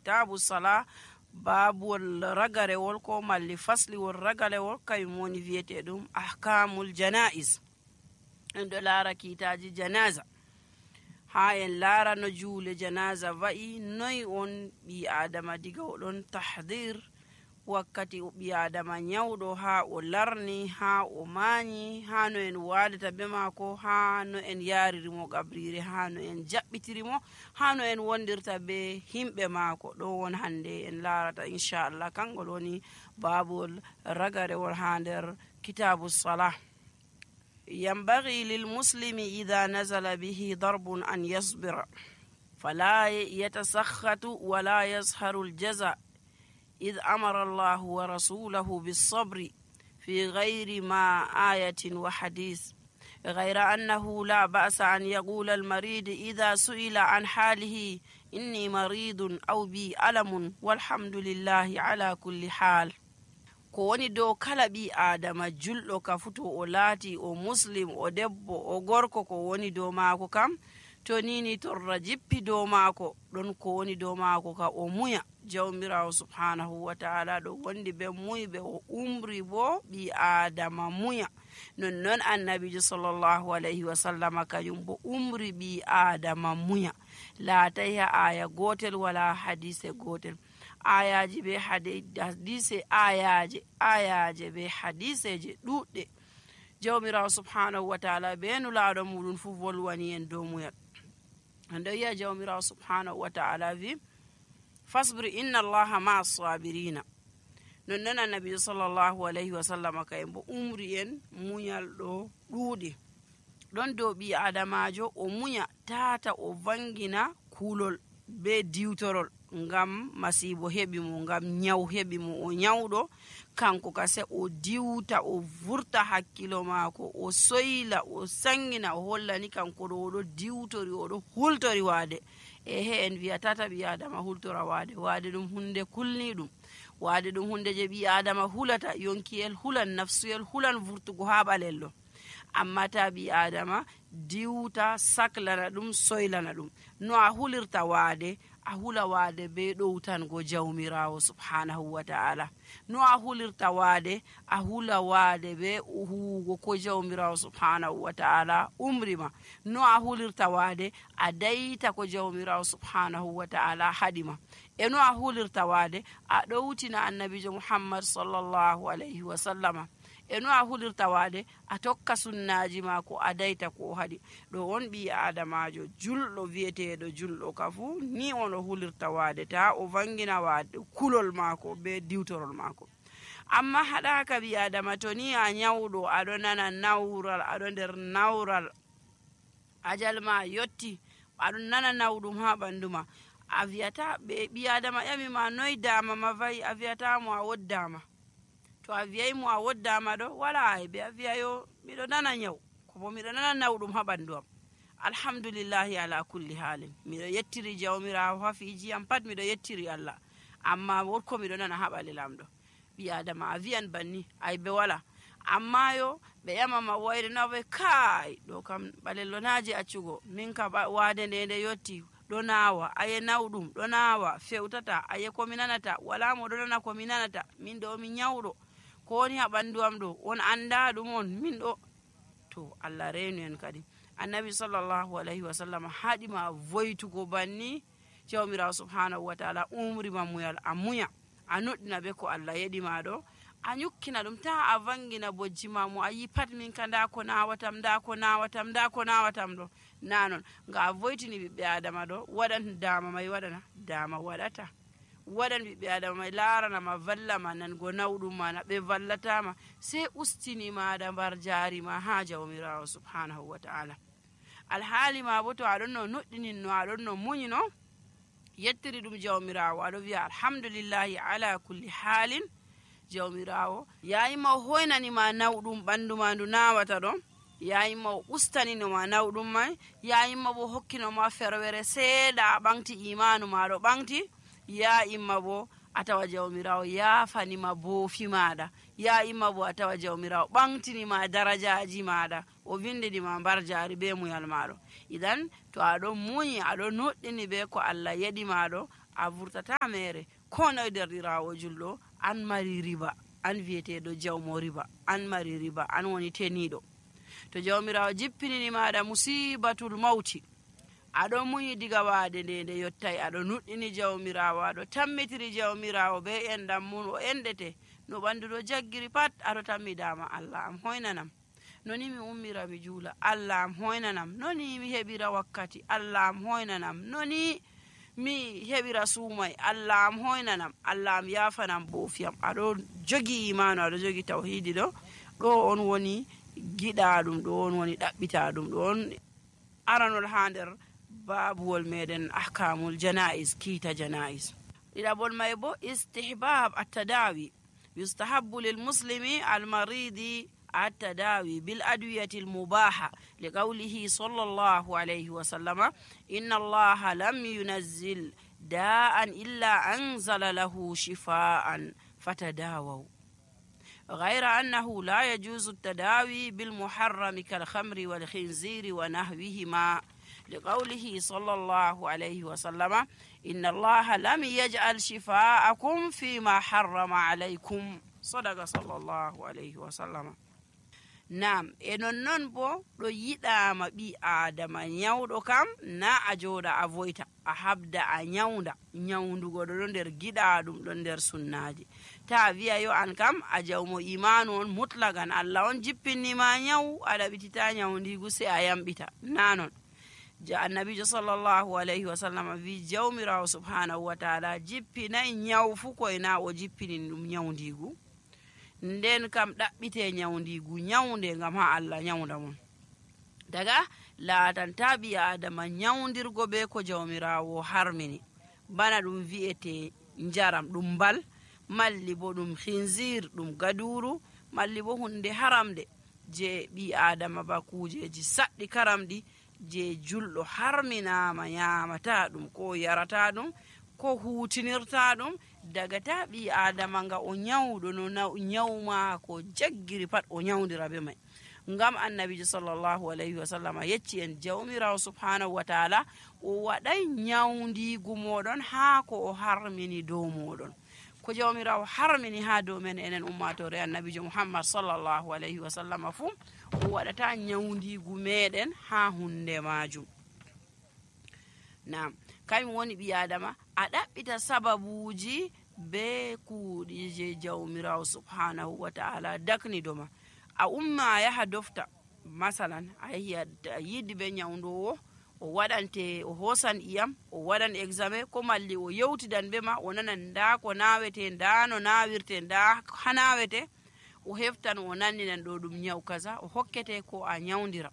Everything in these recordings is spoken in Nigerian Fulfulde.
kitabu sala babul ragarewol ko malli fasliwol ragalewol kayum woni wiyeteɗum ahkamul janaiz. En ɗo laara kiitaji janaza, ha en laara no juule janaza wa'i, noyi on ɓi adama diga oɗon tahdir wakkati ɓi adama nyawɗo ha o larni, ha o mañi, ha no en waadata be maako, ha no en yaririmo gabrire, ha no en jaɓɓitirimo, ha no en wondirta be himɓe maako. ɗo won hande en laarata inchallah, kangol woni babol ragarewol ha nder kitabu salah. ينبغي للمسلم إذا نزل به ضرب أن يصبر فلا يتسخط ولا يظهر الجزاء إذ أمر الله ورسوله بالصبر في غير ما آية وحديث، غير أنه لا بأس أن يقول المريض إذا سئل عن حاله إني مريض أو بي ألم والحمد لله على كل حال. ko woni dow kala ɓi adama julɗo ka futo o laati o muslim o debbo o gorko, ko woni dow maako kam to nini torra jippi dow maako ɗon ko woni dow maako ka o muya. jawmirawo subhanahu wa ta'ala ɗo wondi ɓe muyɓe, o umri bo ɓi adama muya. nonnon annabijo sallllahu alayhi wa sallama kañum bo umri ɓi adama muya. laatay ha aya gotel wala hadise gotel, ayaji be hadise ayaje be hadiseje ɗuɗɗe. jawmirawo subhanahu wa ta'ala be nulaɗo muɗum fu volwani en dow muyal. ando yiya jawmirawo subhanahu wa ta'ala wi fasbir inna allaha ma sabirina. nonnon annabi sallllahu alayhi wa sallam kayen bo umri en muñal ɗo ɗuuɗi. ɗon dow ɓi adamajo o muña tata o vangina kulol be diwtorol ngam masibo heɓi mo, ngam nyaw heɓi mo, o nyawɗo kanko kase o diwta, o vurta hakkilo maako, o soyla, o sangina, o hollani kanko ɗo oɗo diwtori, oɗo hultori waade. he en wiya tata ɓi adama hultora waade. waade ɗum hunde kulniɗum, waade ɗum hunde je ɓi adama hulata, yonkiyel hulan, nafsuyel hulan vurtugo ha ɓalello. amma ta ɓi adama diwta, saklana ɗum, soylana ɗum. no a hulirta waade, a hula waade be ɗowtango jawmirawo subhanahu wa ta'ala. no a hulirta waade, a hula waade be huwugo ko jawmirawo subhanahu wa ta'ala umrima. no a hulirta waade, a dayta ko jawmirawo subhanahu wa ta'ala haɗima. e no a hulirta waade, a ɗowtina annabijo muhammad sallllahu alayhi wa sallama. e no a hulirta waade, a tokka sunnaji maako, a dayta ko haɗi. ɗo on ɓi adamajo julɗo wiyeteɗo julɗo ka fu ni on o hulirta waade, ta o vangina waade kulol maako be diwtorol maako. amma haɗaka ɓi adama to ni a nyawɗo, aɗo nana nawral, aɗo nder nawral, ajal ma yotti, aɗo nana nawɗum ha ɓandu ma, a wiyata ɓe ɓi adama ƴamima noy dama ma vayi, a wiyata mo a woddama. to a wiyay mo a woddama ɗo wala aybe, a wiya yo miɗo nana nyaw, ko bo miɗo nana nawɗum ha ɓandu am. alhamdulillahi ala kulli halin, miɗo yettiri jawmirawo ha fiji am pat, miɗo yettiri Allah, amma wonko miɗo nana ha ɓalelam ɗo. ɓi adama a wiyan banni aybe wala. amma yo ɓe ƴamama wayre no ɓe kai ɗo kam ɓalello naji accugo, min ka waade nde yotti ɗo nawa, aye nawɗum ɗo nawa, fewtata, aye komi nanata, wala mo ɗo nana komi nanata, min ɗo mi nyawɗo, ko woni ha ɓandu am ɗo on anda ɗum on, min ɗo. to Allah reenu en kadi. annabi sallllahu alayhi wa sallam haɗima voytugo banni. jawmirawo subhanahu wa ta'ala umrima muyal, a muya, a nuɗɗina be ko Allah yeɗima ɗo, a ñukkina ɗum, ta a vangina bojjima mo, a yi pat min ka nda ko nawatam, nda ko nawatam, nda ko nawatam ɗo. na non nga a voytini ɓiɓɓe adama ɗo, waɗan dama may waɗana dama waɗata, waɗan ɓiɓɓe adama may laranama, vallama nango nawɗum mana, ɓe vallatama, sey ustini maɗa mbar jarima ha jawmirawo subhanahu wa ta'ala. alhaali ma bo to aɗon no nuɗɗininno, aɗon no muñino, yettiri ɗum jawmirawo, aɗo wiya alhamdulillahi ala kulli halin. jawmirawo yayima o hoynanima nawɗum ɓandu ma ndu nawata ɗon, yayima o ustaninoma nawɗum may, yayima bo hokkinoma ferwere seeɗa, a ɓanti imanu maɗo ɓanti, ya imma bo a tawa jawmirawo yafanima boofi maɗa, ya imma bo a tawa jawmirawo ɓantinima darajaji maɗa, o windinima mbar jari be muyal maɗo. idan to aɗon muñi, aɗon nuɗɗini be ko Allah yeɗi maɗo, a vurtata mere ko noye derɗirawo julɗo an mari riba, an wiyeteɗo jawmo riba, an mari riba, an woni teniɗo. To jawmirawo jippinini maɗa musibatul mawti, aɗo muñi diga waade nde yottai, aɗo nuɗɗini jawmirawo, aɗo tammitiri jawmirawo be endam mum, o endete no ɓandu ɗo jaggiri pat, aɗo tammidama Allah am hoynanam, noni mi ummira mi juula, Allah am hoynanam, noni mi heɓira wakkati, Allah am hoynanam, noni mi heɓira suumay, Allah am hoynanam, Allah am yafanam boofiyam. Aɗo jogi imanu, aɗo jogi tawhidi ɗo on woni giɗaɗum, ɗo on woni ɗaɓɓitaɗum, ɗo on aranol ha nder babuwol meɗen ahkamul janais, kiita janais. ɗiɗaɓol may bo istihbab attadawi, yustahabbu lil muslimi almaridi التداوي بالأدوية المباحة لقوله صلى الله عليه وسلم إن الله لم ينزل داء إلا أنزل له شفاء فتداووا، غير أنه لا يجوز التداوي بالمحرم كالخمر والخنزير ونحوهما لقوله صلى الله عليه وسلم إن الله لم يجعل شفاءكم فيما حرم عليكم، صدق صلى الله عليه وسلم. Nam e non bo ɗo yiɗama ɓi adama nyawɗo kam na a joɗa a voyta, a habda a nyawda. Nyawndugo ɗo nder giɗaɗum, ɗo nder sunnaji. Ta wiya yo an kam a jawmo imanu on mutlagan, Allah on jippinima nyawu, a ɗaɓitita nyawndigu sai a yamɓita, nanon. Annabijo sallallahu alayhi wa sallam wi jawmirawo subhanahu wa ta'ala jippinai nyawu fu koyna o jippini ɗum nyawndigu, nden kam ɗaɓɓite nyawndigu nyawnde ngam ha Allah nyawnda mon. Daga laatanta ɓi adama nyawndirgo be ko jawmirawo harmini, bana ɗum wi'ete njaram ɗum mbal, malli bo ɗum khinzir ɗum gaduru, malli bo hunde haramde je ɓi adama ba kujeji saɗɗi karamɗi je julɗo harminama nyamata ɗum ko yarata ɗum ko hutinirta ɗum, daga ta ɓi adama nga o nyawɗo no nyawma ko jaggiri pat o nyawdira be mai. Ngam annabijo sallallahu alayhi wa sallam yecci en jawmirawo subhanahu wa ta'ala o waɗay nyawndigu moɗon ha ko o harmini dow moɗon. Ko jawmirawo harmini ha dow men enen ummatore annabijo muhammad sallallahu alayhi wa sallam fu o waɗata nyawndigu meɗen ha hunde majum. Nam kañum woni ɓi adama a ɗaɓɓita sababuji be kuuɗi je jawmirawo subhanahu wa ta'ala dakni doma. A umma a yaha dofta, masalan a yahi a yiɗi be nyawndowo, o waɗante o hosan iyam, o waɗan examen, ko malli o yewtidan be ma, o nanan nda ko nawete, nda no nawirte, nda ha nawete, o heftan o nanninan ɗo ɗum nyaw kaza, o hokkete ko a nyawdira.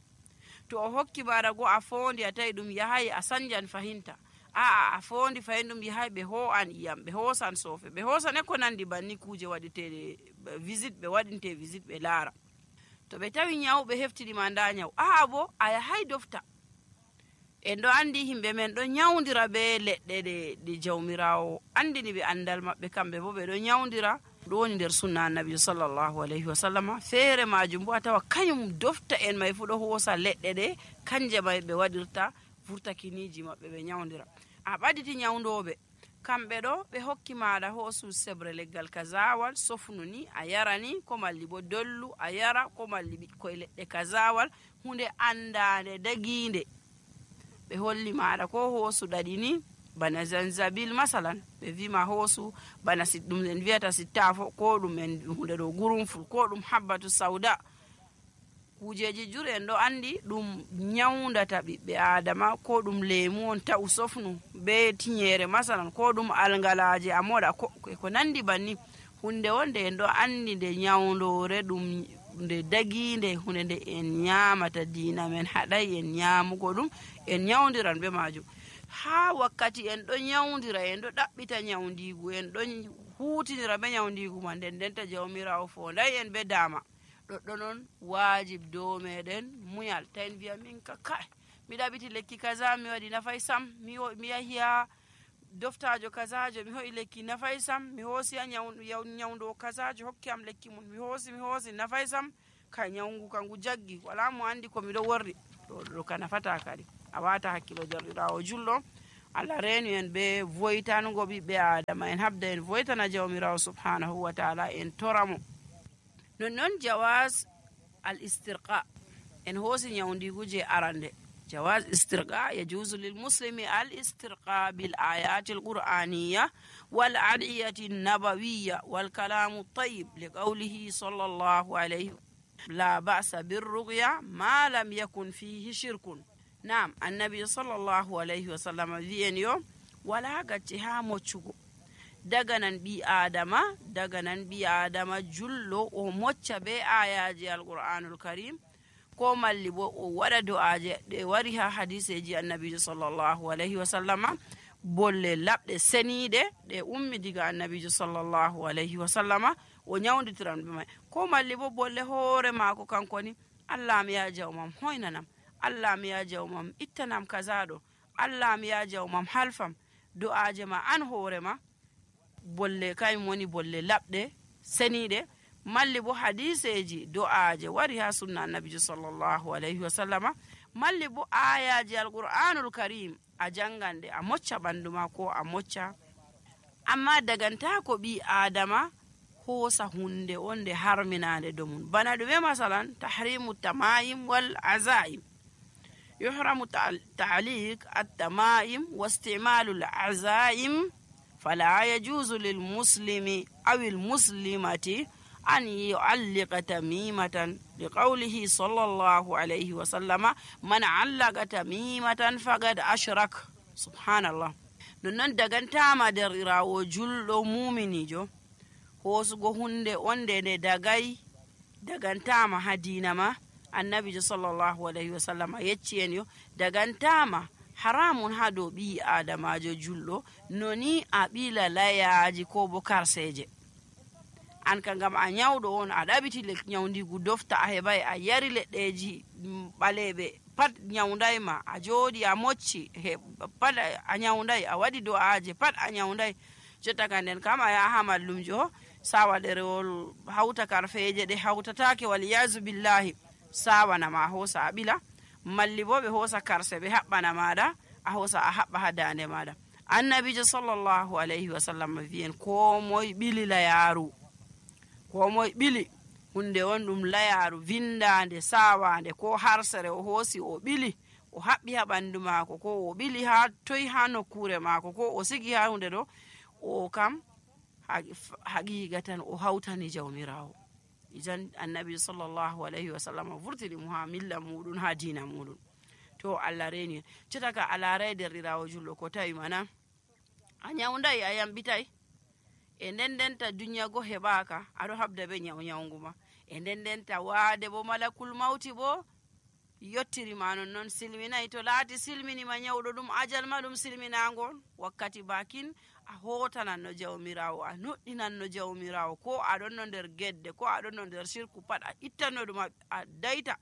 To o hokki bara go a fondi a tawi ɗum yahay a sanjan fahinta, a fondi fahin ɗum yahay ɓe ho an iyam, ɓe hosan sofe, ɓe hosan e ko nandi banni kuje waɗiteɗe visite, ɓe waɗinte visite ɓe laara. To ɓe tawi nyaw ɓe heftinima nda nyaw, bo a yahay dofta. En ɗo andi himɓe men ɗo nyawdira be leɗɗe ɗe jawmirawo andini ɓe andal maɓɓe, kamɓe bo ɓe ɗo nyawdira. Ɗo woni nder sunna annabi sallallahu alayhi wa sallam. Feere majum bo a tawa kañum dofta en may fu ɗo hosa leɗɗe ɗe, kanje may ɓe waɗirta furtakiniji maɓɓe ɓe nyawdira. A ɓaditi nyawdoɓe kamɓe ɗo ɓe hokki maɗa hosu sebre leggal kazawal sofnu ni a yarani, ko malli bo dollu a yara, ko malli ɓikkoye leɗɗe kazawal, hunde andade daginde. Ɓe holli maɗa ko hosu ɗaɗi ni bana zanzabil masalan, ɓe wima hosu bana ɗum en wiyata sittafo, ko ɗum en hunde ɗo gurumful, ko ɗum habbatu sauda. Kujeji jur en ɗo andi ɗum nyawdata ɓiɓɓe adama, ko ɗum lemu on ta'u sofnu be tinyere masalan, ko ɗum algalaje a moɗa ko nandi banni. Hunde wonde en ɗo andi nde nyawdore ɗum nde daginde, hunde nde en nyamata, dina men haɗay en nyamugo ɗum, en nyawdiran be majum. Ha wakkati en ɗo nyawdira, en ɗo ɗaɓɓita nyawndigu, en ɗo hutinira be nyawndigu man, nden denta jawmirawo fonday en be dama. Ɗoɗɗo noon wajib dow meɗen muñal, ta en wiya min ka kai mi ɗaɓiti lekki kaza mi waɗi nafay sam, mi yahi ha doftajo kazajo mi ho'i lekki nafay sam, mi hoosi ha nyawdo kazajo hokki am lekki mun, mi hoosi nafay sam, kai nyawngu kangu jaggi, wala mo andi ko miɗo worri. Ɗo ka nafata kadi. A wata hakkilo jarɗirawo julɗo Allah reenu en ɓe voytango ɓiɓɓe adama en habda en voytana jawmirawo subhanahu wa taala en toramo. Non jawaz al istirqa en hoosi nyawdigu je arande. جواز استرقاء يجوز للمسلم الاسترقاء بالآيات القرآنية والأدعية النبوية والكلام الطيب لقوله صلى الله عليه وسلم لا بأس بالرقية ما لم يكن فيه شرك. نعم النبي صلى الله عليه وسلم ذين يوم ولا قتها موچugo daganan bi adama jullo o mocca be ayaji alqur'anul karim ko malli bo o waɗa do'aje ɗe wari ha hadiseji annabijo sallllahu alayhi wa sallama bolle laɓɗe seniɗe ɗe ummi diga annabijo sallllahu alayhi wa sallama o ñawditiran ɓe may ko malli bo bolle hoore maako kankoni allah mi ya jawmam hoynanam, allah mi ya jawmam ittanam kazaɗo, allah mi ya jawmam halfam do'aje ma an hoore ma bolle kayum woni bolle laɓɗe seniɗe malli bo hadiseji do'aje wari ha sunna annabijo sallllahu alayhi wa sallama malli bo ayaji alqur'anul karim a jangande a mocca ɓandu ma ko a mocca amma daganta ko ɓi adama hoosa hunde onde harminande domum bana ɗume masalan tahrimu tamaim wal azaim yuhramu ta'liq at-tamaim wa istimalu al-azaim fala yajuzu lil muslimi aw al muslimati أن يعلق تميمة لقوله صلى الله عليه وسلم من علق تميمة فقد أشرك. سبحان الله. نون دغانتاما درirawo julɗo muminijo hosugo hunde onde nde dagantama ha dina ma annabijo sallllahu alayhi wa sallam yecci en yo dagantama haramun ha dow ɓi adamajo julɗo noni a ɓila layaji ko bo karseje an ka ngam a ñawɗo on a ɗaɓiti ñawdigu dofta a heɓay a yari leɗɗeji ɓaleɓe pat ñawdayma a jooɗi a mocci pat a ñawday a waɗi do'aje pat a ñawday jotta ka nden kam a yaha ha mallumjo sawa ɗerewol hawta karfeje ɗe hawtatake waliyasu billahi sawanama a hoosa a ɓila malli bo ɓe hoosa karse ɓe haɓɓana maɗa a hoosa a haɓɓa ha dande maɗa annabijo sallllahu alayhi wa sallam wiyen ko moye ɓili layaru ko moye ɓili hunde on ɗum layaru vindande sawande ko harsere o hoosi o ɓili o haɓɓi ha ɓandu maako ko o ɓili ha toyi ha nokkure maako ko o sigi ha hunde ɗo o kam haqiqa tan o hawtani jawmirawo ijan annabi sallllahu alayhi wa sallam vurtini mo ha milla muɗum ha dina muɗum to allah reni cetaka alaray derɗirawo julɗo ko tawi mana a ñawdayi a yamɓitay e ndendenta duniya go heɓaka aɗo habda be ñawgu ma e ndendenta waade bo malakul mawti bo yottirima non silminayi to laati silminima ñawɗo ɗum ajal ma ɗum silminagol wakkati bakin a hotananno jawmirawo a noɗɗinanno jawmirawo ko aɗonno nder gedde ko aɗonno nder sirku pat a ittanno ɗum a dayta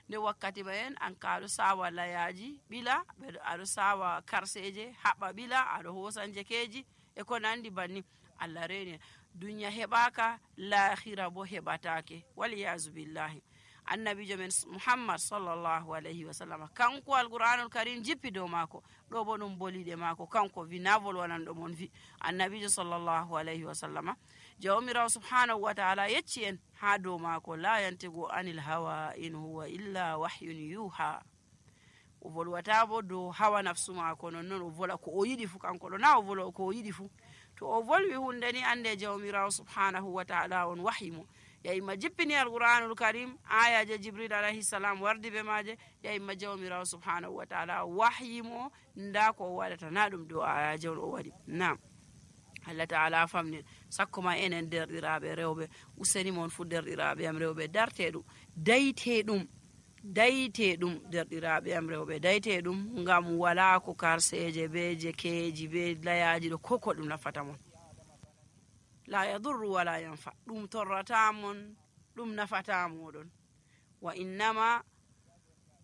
nde wakkati ma en an ka aɗo sawa layaji ɓila aɗo sawa karseje haɓa ɓila aɗo hosa jekeji e ko nandi banni allah reni duniya heɓaka lahira bo heɓatake waliyasu billahi annabijo men muhammad sallllahu alayhi wa sallam kanko alqur'anul karim jippi dow maako ɗo bo ɗum boliɗe maako kanko wi na volwananɗo mon wi annabijo sallllahu alayhi wa sallama jawmirawo subhanahu wa taala yecci en ha dow maako la yantigu anil hawa in huwa illa wahyun yuha o volwata bo dow hawa nafsu maako nonnoon o vola ko o yiɗi fu kanko ɗo na o vola ko o yiɗi fu to o volwi hunde ni ande jawmirawo subhanahu wa taala on wahimo yayima jippini alqur'anul karim ayaje jibril alayhi salam wardi be maje yayima jawmirawo subhanahu wa taala wahyimo nda ko o waɗata na ɗum dow ayaje on o waɗi nam allah taala famnin sakkoma enen derɗiraɓe rewɓe useni mon fu derɗiraɓe am rewɓe darte ɗum dayte ɗum derɗiraɓe am rewɓe dayte ɗum ngam wala ko karseje be jekeji be layaji ɗo koko ɗum nafata mon la yadurru wala yanfa ɗum torrata mon ɗum nafata moɗon wa innama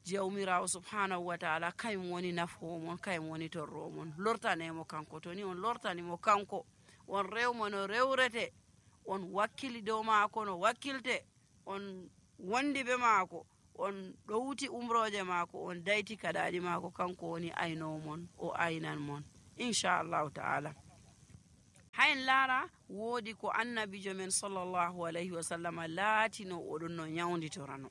jawmirawo subhanahu wa taala kayum woni nafomon kayum woni torromon lortanemo kanko to ni on lortanimo kanko on rewmo no rewrete on wakkili dow maako no wakkilte on wondi be maako on ɗowti umroje maako on dayti kaɗaɗi maako kanko woni aynomon o aynan mon inchallahu ta'ala. hayen laara woodi ko annabijo men sallllahu alayhi wa sallam laatino oɗon no nyawditorano.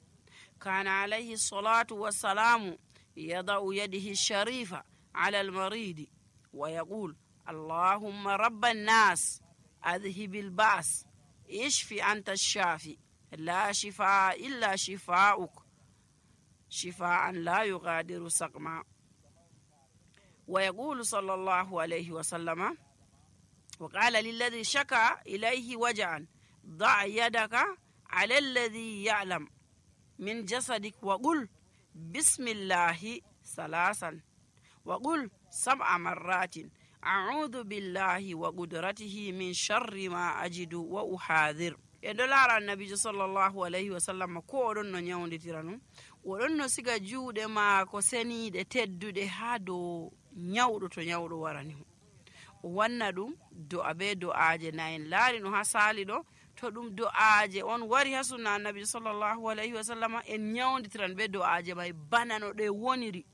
kana alayhi salatu wassalamu yada'u yadihi sharifa ala almaridi wa yaqul allahumma rabba nnas adhibi lbas ishfi anta shafi la shifaa illa shifaa'uk shifaan la yughadiru saqma. wa yaqulu sallallahu alayhi wa sallama وقال للذي شكى إليه وجعا ضع يدك على الذي يعلم من جسدك وقل بسم الله ثلاثا وقل 7 مرات أعوذ بالله وقدرته من شر ما أجد وأحاذر. يدلار النبي صلى الله عليه وسلم ko oɗon no nyawditira non oɗon no siga juuɗe maako seniiɗe tedduɗe haa dow nyawɗo to nyawɗo warani wanna ɗum do'a be do'aje nayen laari no ha saali ɗo. to ɗum do'aje on wari ha sunna annabi sallllahu alayhi wa sallam en nyawditiran be do'aje may bana no ɗe woniri.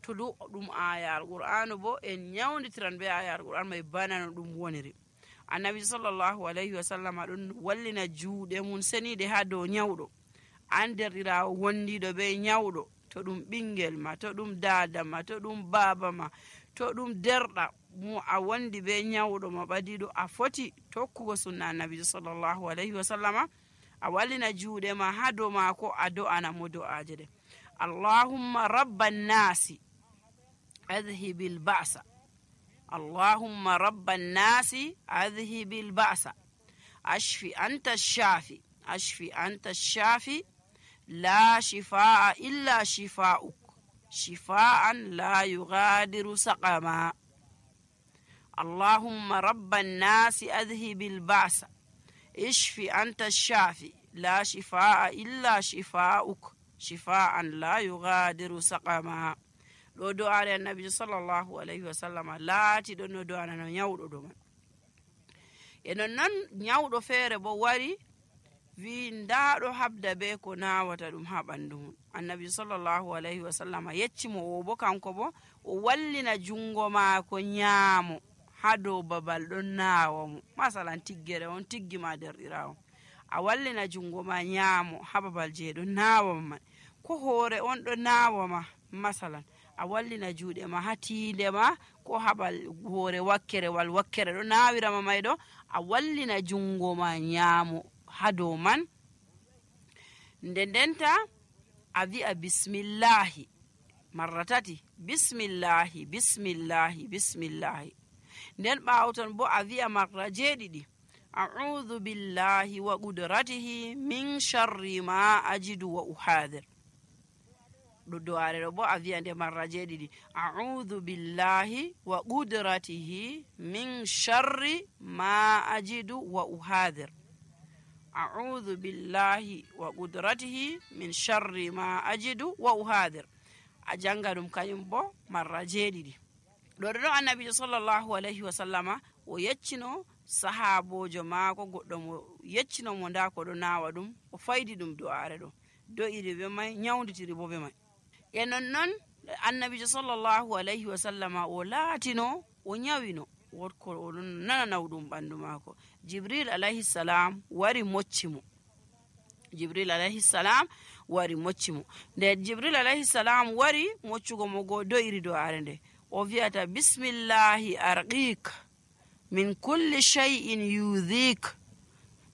to ɗum ayar qur'anu bo en nyawditiran be ayar qur'an may bana no ɗum woniri. annabi sallllahu alayhi wa sallam ɗon wallina juuɗe mum seniɗe ha dow nyawɗo anderɗirawo wondiɗo be nyawɗo, to ɗum ɓingel ma, to ɗum dada ma, to ɗum baba ma, to ɗum derɗa mo a wondi be nyawɗo ma ɓadiɗo, a foti tokkugo sunna annabi sallllahu alayhi wa sallama. a wallina juuɗe ma ha dow maako a do'ana mo do'aje ɗe. allahumma rabba nnasi adhibil ba'sa allahumma rabba nnasi adhibil ba'sa ashfi anta shafi ashfi anta shafi la shifaa illa shifaa'uk shifaan la yughadiru saqama. اللهم رب الناس أذهب البعث اشف أنت الشافي لا شفاء إلا شفاؤك شفاء لا يغادر سقما. ɗo do'are annabi sallllahu alayhi wa sallam laati ɗo no do'anano nyawɗo ɗo man. e nonnon nyawɗo feere bo wari wi ndaɗo habda be ko nawata ɗum ha ɓandu mum. annabi sallllahu alayhi wa sallam yeccimo o bo kanko bo o wallina jungo maako nyaamo ha dow babal ɗon naawa mo. masalan tiggere on tiggima derɗirawo, a wallina jungo ma nyaamo ha babal je ɗon naawa ma. ko hoore on ɗo naawa ma masalan, a wallina juuɗe ma ha tiinde ma ko habal hoore wakkere wal wakkere ɗo naawirama may ɗo, a wallina jungo ma nyaamo ha dow man. ndendenta a wi'a bismillahi marra tati, bismillahi bismillahi bismillahi. nden ɓaawton bo a wi'a marra 7 a'udhu billahi wa qudratihi min sharri ma ajidu wa uhadir. ɗo do'are ɗo bo a wi'a nde marra 7 a'udhu billahi wa qudratihi min sharri ma ajidu wa uhadir. a'udhu billahi wa qudratihi min sharri ma ajidu wa uhadir. a janga ɗum kañum bo marra 7. ɗo ɗo annabijo sallllahu alayhi wa sallama o yeccino sahabojo maako goɗɗo mo yeccino mo nda ko ɗo nawa ɗum, o faydi ɗum do'are ɗo, do'iri be may, nyawditiri bo be may. e nonnon annabijo sallllahu alayhi wa sallama o laatino o nyawino wotko oɗon nana nawɗum ɓandu maako. jibril alayhi salam wari mocci mo. jibril alayhi salam wari mocci mo. nde jibril alayhi salam wari moccugo mo go do'iri do'are nde, o wi'ata bismillahi arqik min kulli shay'in yudhik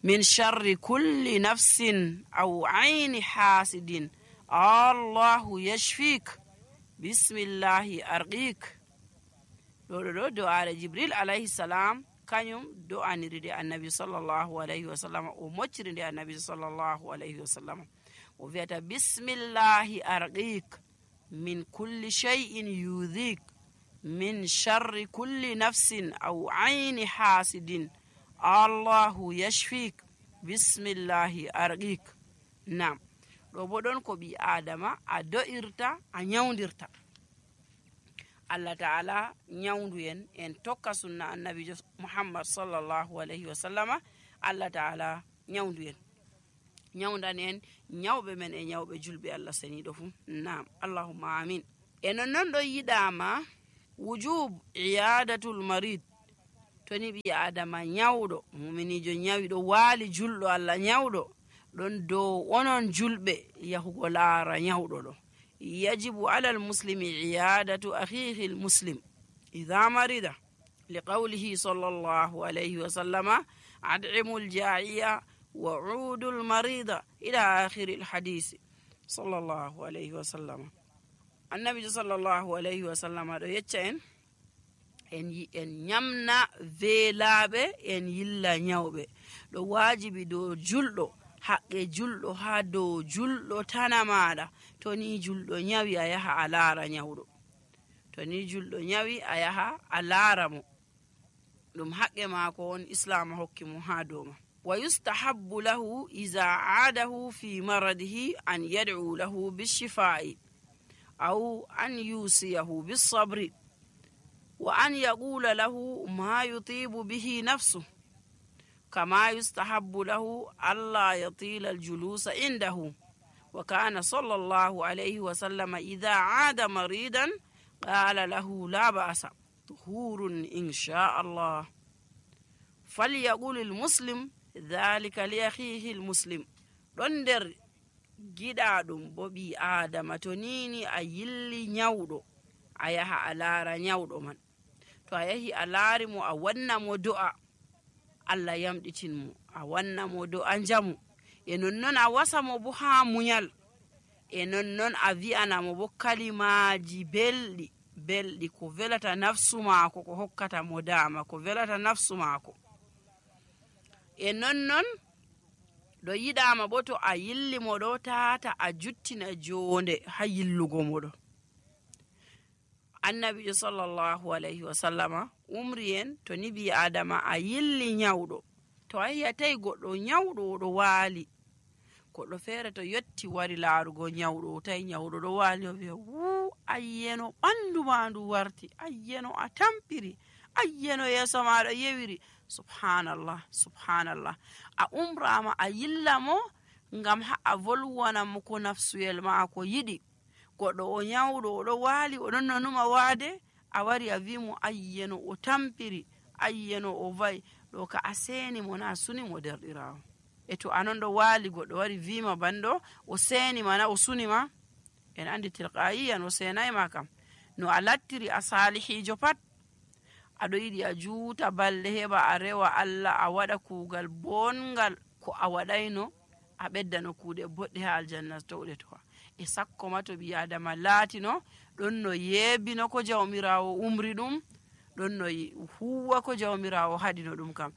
min sharri kulli nafsin aw ayni hasidin allahu yashfik bismillahi arqik. ɗo do'are jibril alayhi salam kañum do'aniri de annabi sallllahu alayhi wa sallam, o mocciri nde annabi sallllahu alayhi wa sallam. o wi'ata bismillahi arqik min kulli shay'in yudhik min sharri kulli nafsin aw ayni hasidin allahu yashfik bismillahi arqik. nam ɗo bo ɗon ko ɓi adama a do'irta a nyawdirta. allah ta'ala nyawdu en tokka sunna annabijo muhammad sallllahu alayhi wa sallama. allah ta'ala nyawdu en. nyawdan en nyawɓe men e nyawɓe julɓe Allah seniɗo fuu. Naam, allahumma amin. E nonnon ɗo yiɗama wujub iyadatul marid. To ni ɓi adama nyawɗo, muminijo nyawi ɗo waali julɗo Allah nyawɗo, ɗon dow onon julɓe yahugo laara nyawɗo ɗo. yajibu alal muslimi iyadatu akhihi l muslim idha marida liqawlihi sallallahu alayhi wa sallama ad'imu ljaiya wa udu lmarida ila akhiri lhadisi sallallahu alayhi wa sallama. annabijo sallallahu alayhi wa sallama ɗo yecca en ñamna veelaaɓe en yilla nyawɓe. ɗo waajibi dow julɗo, haqqe julɗo haa dow julɗo tana maaɗa. to ni julɗo nyawi a yaha a laara nyawɗo, to ni julɗo nyawi a yaha a laara mo, ɗum haqqe maako on islam hokki mo haa dow ma. wa yustahabbu lahu iza aadahu fi maradihi an yad'u lahu bishifa'i aw an yusiyahu bisabri wa an yaqula lahu ma yutibu bihi nafsuhu kama yustahabbu lahu alla yatila aljulusa indahu. wa kana sallallahu alayhi wa sallam idha aada maridan qala lahu la ba'sa tuhurun insha Allah falyaqul almuslim dhalika li akhihi almuslim. ɗon nder giɗaɗum bo ɓi adama to nini a yilli nyawɗo a yaha a laara nyawɗo man. to a yahi a laari mo a wanna mo do'a Allah yamɗitin mo, a wanna mo do'a njamu, e nonnon a wasa mo bo haa munyal, e nonnon a wi'ana mo bo kalimaji belɗi ko velata nafsu maako, ko hokkata mo dama, ko velata nafsu maako. e nonnon ɗo yiɗama bo to a yilli mo ɗo tata a juttina jonde ha yillugo mo ɗo. annabijo sallallahu alayhi wa sallama umri en to ni bi adama a yilli nyawɗo, to a yiyatay goɗɗo nyawɗo oɗo waali, goɗɗo feere to yotti wari laarugo nyawɗo, tawi nyawɗo ɗo waali, o wiya ayyeno ɓandu ma ndu warti, ayyeno a tampiri, ayyeno yeeso maɗa yewiri. subhanallah subhanallah. a umrama a yilla mo ngam ha a volwana mo ko nafsuyel maako yiɗi. goɗɗo o nyawɗo oɗo waali, oɗon nonuma waade, a wari a wi mo ayyeno o tampiri, ayyeno o vayi, ɗo ka a seeni mo na suni mo derɗirawo. e to anon ɗo waali goɗɗo wari wima banɗo o seeni mana o suni ma, en andi tilqayiyan o seenayma kam. no a lattiri a salihijo pat, aɗo yiɗi a juuta balɗe heɓa a rewa Allah, a waɗa kuugal bongal ko a waɗayno, a ɓeddano kuuɗe boɗɗe ha aljanna towɗe towa. e sakko ma to ɓi adama laatino ɗon no yeebino ko jawmirawo umri ɗum, ɗon no huwa ko jawmirawo haɗino ɗum kam.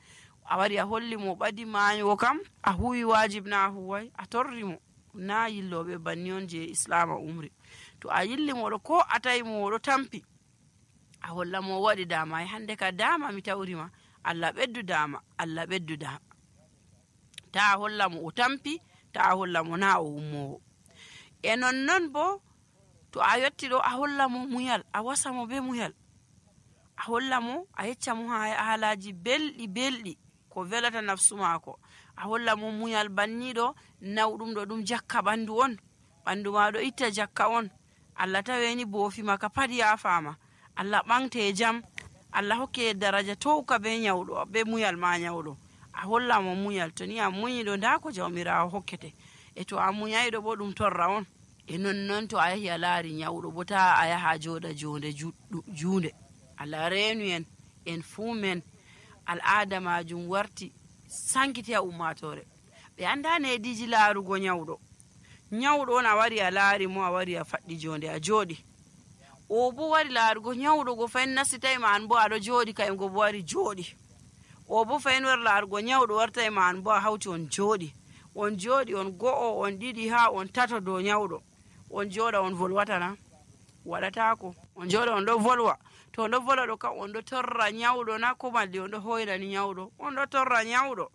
a wari a holli mo ɓadi maayo kam, a huwi wajib na a huway, a torri mo. na yilloɓe banni on je islama umri. to a yilli moɗo ko a tawi mo oɗo tampi, a holla mo waɗi dama, e hande ka dama mi tawrima, Allah ɓeddu dama, Allah ɓeddu dama. ta a holla mo o tampi, ta a holla mo na o ummowo. e nonnon bo to a yotti ɗo a holla mo muyal, a wasa mo be muyal, a holla mo, a yecca mo haalaji belɗi ko velata nafsu maako, a holla mo muyal banniɗo nawɗum ɗo ɗum jakka ɓandu on, ɓandu ma ɗo itta jakka on. Allah taweni boofi maka pat yafama, Allah ɓamte jam, Allah hokke daraja towka be nyawɗo, be muyal ma nyawɗo. a holla mo muyal, to ni a muñiɗo nda ko jawmirawo hokkete. e to a muñayɗo bo ɗum torra on. e nonnon to a yahi a laari nyawɗo bo ta a yaha joɗa jonde juunde. Allah reenu en fuu men al'ada majum warti sankiti ha ummatore, ɓe andani hediji laarugo nyawɗo. nyawɗo on a wari a laari mo, a wari a faɗɗi jonde a jooɗi, o bo wari laarugo nyawɗo go fayin nasitayma an bo aɗo jooɗi, kayum go bo wari jooɗi. o bo fayin wari laarugo nyawɗo wartayma an bo a hawti on jooɗi, on go'o, on ɗiɗi, ha on tato dow nyawɗo. on jooɗa on volwatana, waɗatako. on jooɗa on ɗo volwa, to on ɗo volwa ɗo kam on ɗo torra nyawɗo na, ko malli on ɗo hoyrani nyawɗo, on ɗo torra nyawɗo,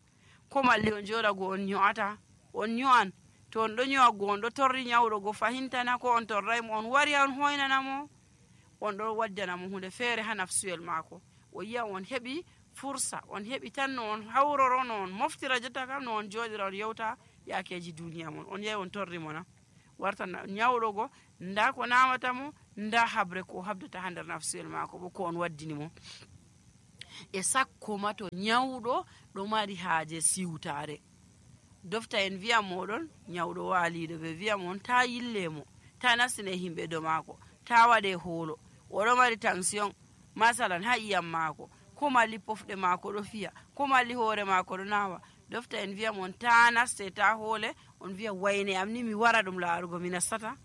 ko malli on jooɗa go on nyo'ata, on nyo'an. to on ɗo nyo'a go on ɗo torri nyawɗo go fahintana, ko on torraymo, on wari on hoynana mo, on ɗo waddana mo hunde feere ha nafsuyel maako. o yiya on heɓi fursa, on heɓi tan no on hawroro, no on moftira jotta kam, no on jooɗira on yewta yakeji duniya mon on yahi on torri mo na warta nyawɗo go nda ko namata mo nda habre ko habdata ha nder nafsuyel mako bo ko on waddini mo e sakko ma to nyawɗo ɗo mari haaje siwtare dofta en wiya moɗon nyawɗo waaliɗo ɓe wiya mon ta yille mo ta nastine himɓe do maako ta waɗe hoolo oɗo mari tension masalan ha iyam maako ko malli pofɗe maako ɗo fiya ko malli hoore maako ɗo nawa dofta en wiya mon ta naste ta hoole on wiya wayne am ni mi wara ɗum laarugo mi nastata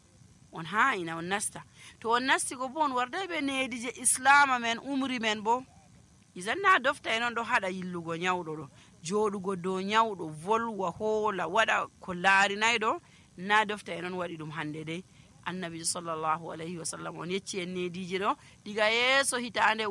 on ha ina on nasta to on nasti go bo on warday ɓe needi je islama men umri men bo isan na dofta en on ɗo haɗa yillugo nyawɗo ɗo joɗugo dow nyawɗo volwa hoola waɗa ko laarinayɗo na dofta en on waɗi ɗum hande dey annabijo sallllahu alayhi wa sallam on yecci en neediji ɗo diga yeeso hitande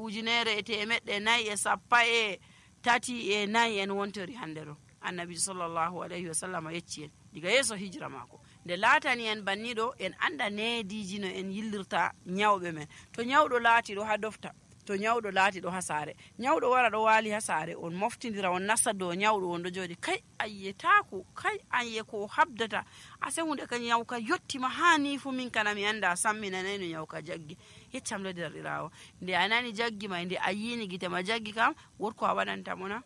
1434 en wontori hande ɗo annabijo sallllahu alayhi wa sallam yecci en diga yeeso hijra maako nde laatani en banniɗo en anda neediji no en yillirta nyawɓe men to nyawɗo laati ɗo ha dofta to nyawɗo laati ɗo ha saare nyawɗo wara ɗo waali ha saare on moftidira on nasta dow nyawɗo on ɗo jooɗi kay ayyetako kay anye ko habdata ase hunde ka nyawka yottima ha ni fu min kana mi anda samminanayi no nyawka jaggi yeccam ɗo derɗirawo nde a nani jaggi ma nde a yini gite ma jaggi kam wotko a waɗantamo na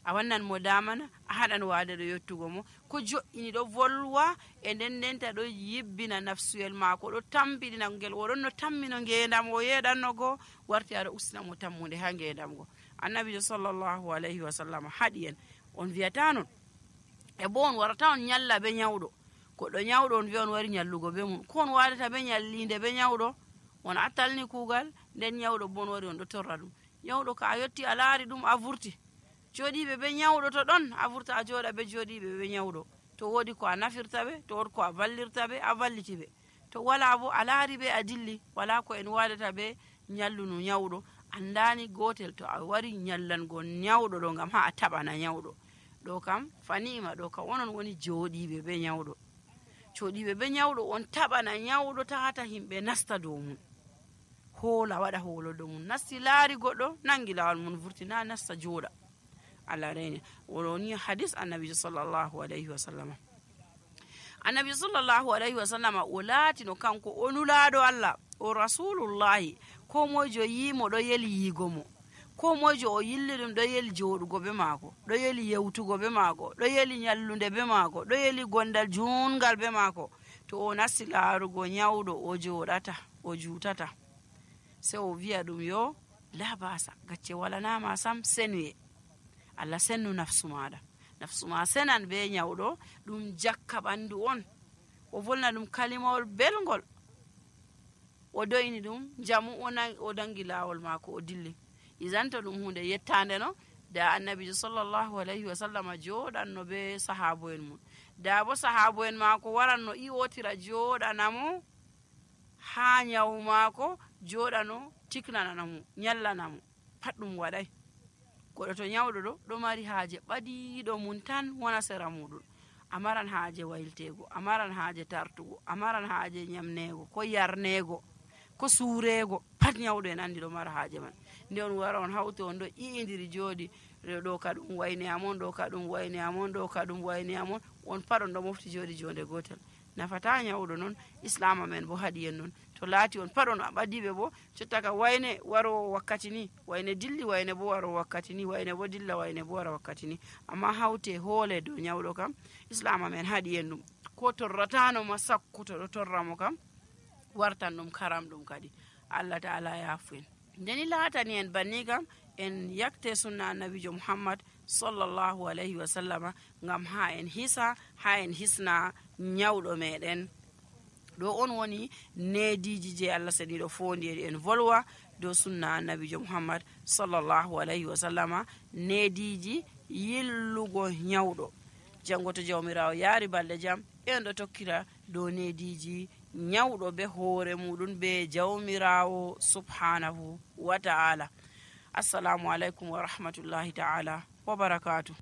a wannan mo damana a haɗan waade ɗo yettugo mo ko jo'ini ɗo volwa e nden ndenta ɗo yibbina nafsuyel maako ɗo tampiɗina ngel oɗon no tammino ngendam o yeɗanno goo warti aɗa ustina mo tammude ha ngendam go annabijo sallllahu alayhi wa sallam haɗi en on wiyata non e bo on warata on nyalla be nyawɗo goɗɗo nyawɗo on wiya on wari nyallugo be mum ko on waɗata be nyallinde be nyawɗo on attalni kuugal nden nyawɗo bo on wari on ɗo torra ɗum nyawɗo ka a yetti a laari ɗum a vurti joɗiɓe be nyawɗo to ɗon a vurta a jooɗa be joɗiɓe be nyawɗo to woodi ko a nafirta ɓe to woodi ko a vallirta ɓe a valliti ɓe to wala bo a laari ɓe a dilli wala ko en waɗata ɓe nyallunu nyawɗo andani gotel to a wari nyallango nyawɗo ɗo ngam ha a taɓana nyawɗo ɗo kam fanima ɗo kam onon woni joɗiɓe be nyawɗo joɗiɓe be nyawɗo on taɓana nyawɗo tahata himɓe nasta dow mum hoola waɗa hoolo dow mum nasti laari goɗɗo nangi lawol mum vurtina nasta jooɗa Allah reni woni hadis annabijo sallllahu alayhi wa sallam annabijo sallllahu alayhi wa sallam o laatino kanko o nulaaɗo Allah o rasulullahi ko moyjo yimo ɗo yeli yigo mo ko moyjo o yilli ɗum ɗo yeli joɗugo be maako ɗo yeli yewtugo be maako ɗo yeli nyallunde be maako ɗo yeli gondal jungal be maako to o nasti laarugo nyawɗo o joɗata o jutata se o wiya ɗum yo labasa gacce walanama sam senuye Allah sennu nafsu maɗa nafsu ma senan be nyawɗo ɗum jakka ɓandu on o volna ɗum kalimawol belgol o doyni ɗum jamu o dangi lawol mako o dilli isanta ɗum hunde yettande no da annabijo sallllahu alayhi wa sallam joɗanno be sahabo en mum da bo sahabo en mako waranno iwotira joɗanamo ha nyawu mako joɗano tiknananamo nyallanamo pat ɗum waɗay goɗɗo to nyawɗo ɗo mari haaje ɓadiɗo mum tan wona sera muɗum amaran haaje wayltego amaran haaje tartugo amaran haaje nyamnego ko yarnego ko suurego pat nyawɗo en andi ɗo mara haaje man nde on wara on hawti on ɗo iidiri jooɗi ɗo ka ɗum wayne amon ɗo ka ɗum wayne amon ɗo ka ɗum wayne amon on pat on ɗo mofti jooɗi jonde gotel nafata nyawɗo noon islama men bo haɗi en noon to laati on pat on a ɓadiɓe bo jotta ka wayne waro wakkati ni wayne dilli wayne bo waro wakkati ni wayne bo dilla wayne bo wara wakkati ni amma hawte hoole dow nyawɗo kam islama men haɗi en ɗum ko torratano ma sakkuto ɗo torramo kam wartan ɗum karam ɗum kadi Allah ta'ala yafu en ndeni laatani en banni kam en yakte sunna annabijo muhammad sallllahu alayhi wa sallama ngam ha en hisa ha en hisna nyawɗo meɗen ɗo on woni neediji je Allah saniɗo fondiri en volwa dow sunna annabijo muhammad sallllahu alayhi wa sallama neediji yillugo nyawɗo janngo to jawmirawo yaari balɗe jam en ɗo tokkira dow neediji nyawɗo be hoore muɗum be jawmirawo subhanahu wa ta'ala assalamu aleykum wa rahmatullahi ta'ala wa barakatuh